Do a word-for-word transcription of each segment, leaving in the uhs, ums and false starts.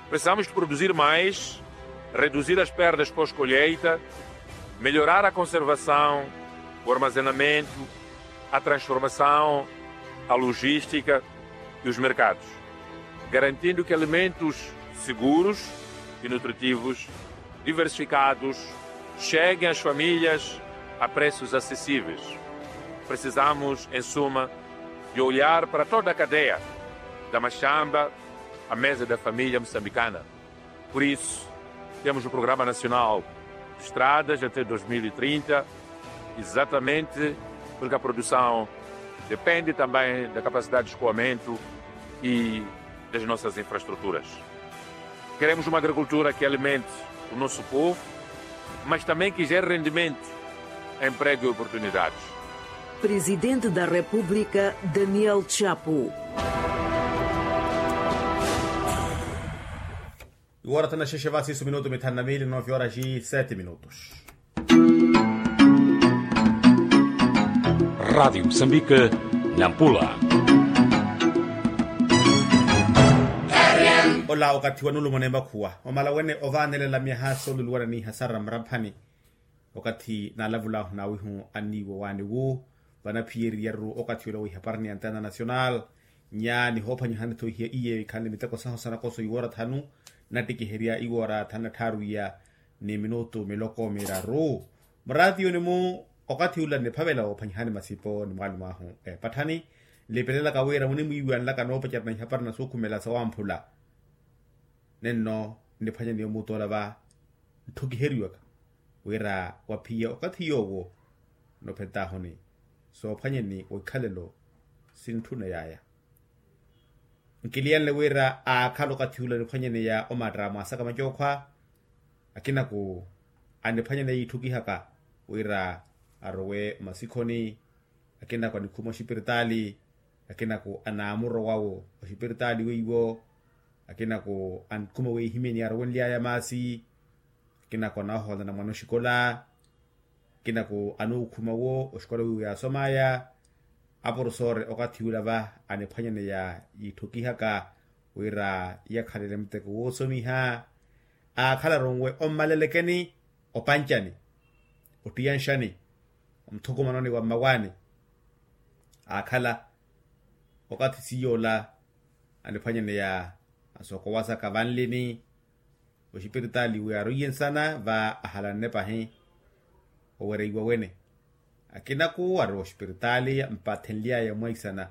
Precisamos de produzir mais, reduzir as perdas pós-colheita, melhorar a conservação, o armazenamento, a transformação, a logística e os mercados, garantindo que alimentos seguros e nutritivos diversificados cheguem às famílias a preços acessíveis. Precisamos, em suma, de olhar para toda a cadeia, da machamba à mesa da família moçambicana. Por isso, temos o Programa Nacional de Estradas até dois mil e trinta, exatamente porque a produção depende também da capacidade de escoamento e das nossas infraestruturas. Queremos uma agricultura que alimente o nosso povo, mas também que gere rendimento, emprego e oportunidades. Presidente da República, Daniel Chapo. Iwora tana xexe vasi isu minutu mithanu na mili, nove horas e sete minutos. Rádio Moçambique, Nampula. Ola okathi wa nulumone makhuwa omala wene ovaanelela myaha sooluluwana ni ihasara mramphani. Okathi naalavulahu nawihu anniiwo waani wu vanaphiyeriyaru okathi ola wa ihaparani ya antena nacional. Nya nihoophwanyihani-tho iye ikhanle miteko sahu sanakoso iwoora thanu nattikiherya iwoora thanu na tthaaru iya ni minutu miloko miraru. Muraatiyuni-mu okathi ula niphavela woophwanyihani masipo ni mwaalumu ahu eepatthani nlipelelaka wira munimwiiwanlaka noopacerya na ihaparani na suukhumela sawamphula. Nenno nniphwanyaniye omuutola va ntthukiheryiwaka wira waphiya okathi yoowo nophentahuni soophwanyeni wa ikhalelo sintthuna yaaya. Nkiliyanle wira aakhala okathi ula niphwanyaneya omatta mwaasaka macookhwa. Akinaku aniphwanyaneya iitthukihaka wira arowe masikhoni. Akinaku anikhuma oxipiritaali. Akinaku anaamurowa-wo oxipiritaali weiwo. Akinaku ankhuma weehimyeni arowenly'aya maasi. Akinaku anaahoolana mwana oxikola. Akinaku anuukhuma-wo oxikola wiiwo yaasom'aya. Aporofesori okathi ula va aniphwanyaneya yiitthukihaka wira yakhalele muteko woosomiha. Aakhalaru nwe ommalelekeni opancani ottiyanxani omuthukumanoni wa mmawaani. Aakhala okathi siy'ola aniphwanyaneya asokowasaka vanlini oxipiritaali wi aroiye nsana va ahalanne pahi owereiwa wene. Akinaku arowa oxipiritaali mpathenly'aya mwaisana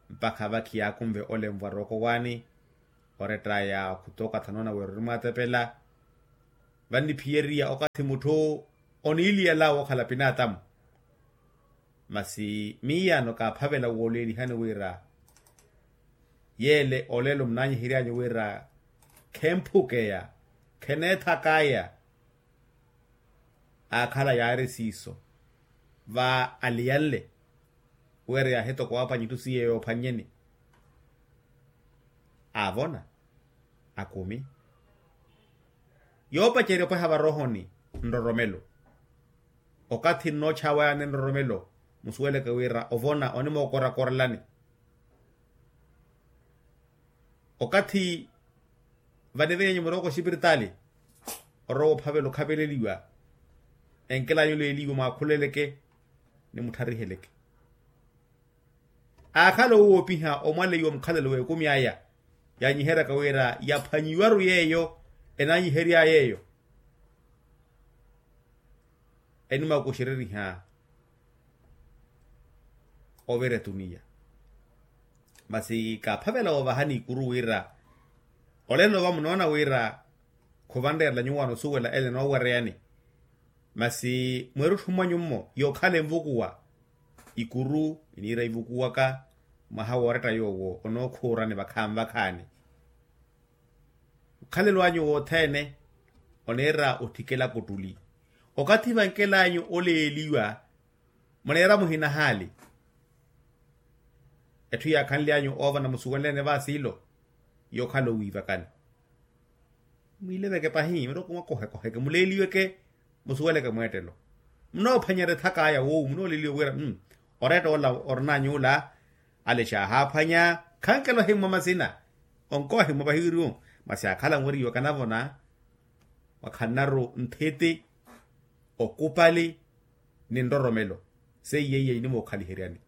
mpakha vakhi yaakunve olenvwa rooko waani. Orett'aya okhutoka thanoona wira orimwaatepela. Vanniphiyeriya okathi mutthu oniiliyala wookhala pinaatamu. Masi miiyaano kaaphavela wooleelihani wira yeele olelo munaanyihery'anyu wira khemphukeya kheneethak'aya. Aakhala yaari siiso va aliyanle wira yaahitoka waaphwanya itthu siiye yoophwannyeni. Aavona akumi yoopacerya opweha varohoni nroromelo. Okathi nnoochawayani nroromelo musuweleke wira ovona onimookorakorelani. Okathi vanivenyanyu murooko oxipiritaali orowa ophavela okhaveleliwa enkelanyu leeliwe mwaakhuleleke ni mutthariheleke. Aakhala owoopiha omwaleiwa mukhalelo w'ekumi aya yaanyiheryaka wira yaphwanyiwaru yeeyo enaanyihery'aya eyo. Enimwakuxereriha ovira etuniya. Masi kaaphavela woovahani ikuru wira olelo va munoona wira khuvanreerela nyuwo anosuwela ele enoowereyani. Masi mweerutthu mwanyu-mo yookhala envukuwa ikuru iniira ivukuwaka mwaha wooretta yoowo onookhuurani vakhaani vakhaani. Mukhalelo anyu wothene oniira otthikela kuttuli okathi vankel'anyu oleeliwa. Muneera muhina haali etthu yaakhanly'anyu oovana musuwenlene vaasiilo yookhala owiivakani. Mwiileveke pahi murooko mwakohekoheke muleeliweke musuweleke mweettelo. Munoophwanyerya ethak'aya woowu munooleliwa wira mm oreetta ola orin'any'ula. Ale xaahaaphwanya khankela ohimmwa masina. Onkohimmwa pahi wiriwo Masi akhala nweriwa kanavona, mwakhannaru nthiti, okupali ni nroromelo. Seiye iya inimookhaliheryani.